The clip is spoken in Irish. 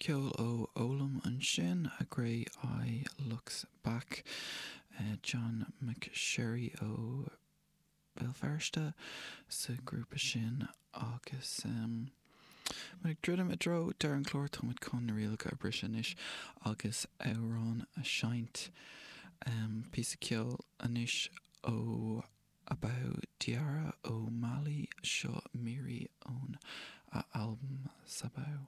Ceol ó Olam ansin, A Grey Eye Looks Back, John McSherry ó Bhéal Feirste sa ghrúpa sin agus muid ag druidim i dtreo deireadh an chláir, táimid chun na rialacha a bhriseadh anois agus amhrán a sheinnt. Píosa ceoil anois ó Abou Diarra ó Mali, seo Miri ón a albam Sabou.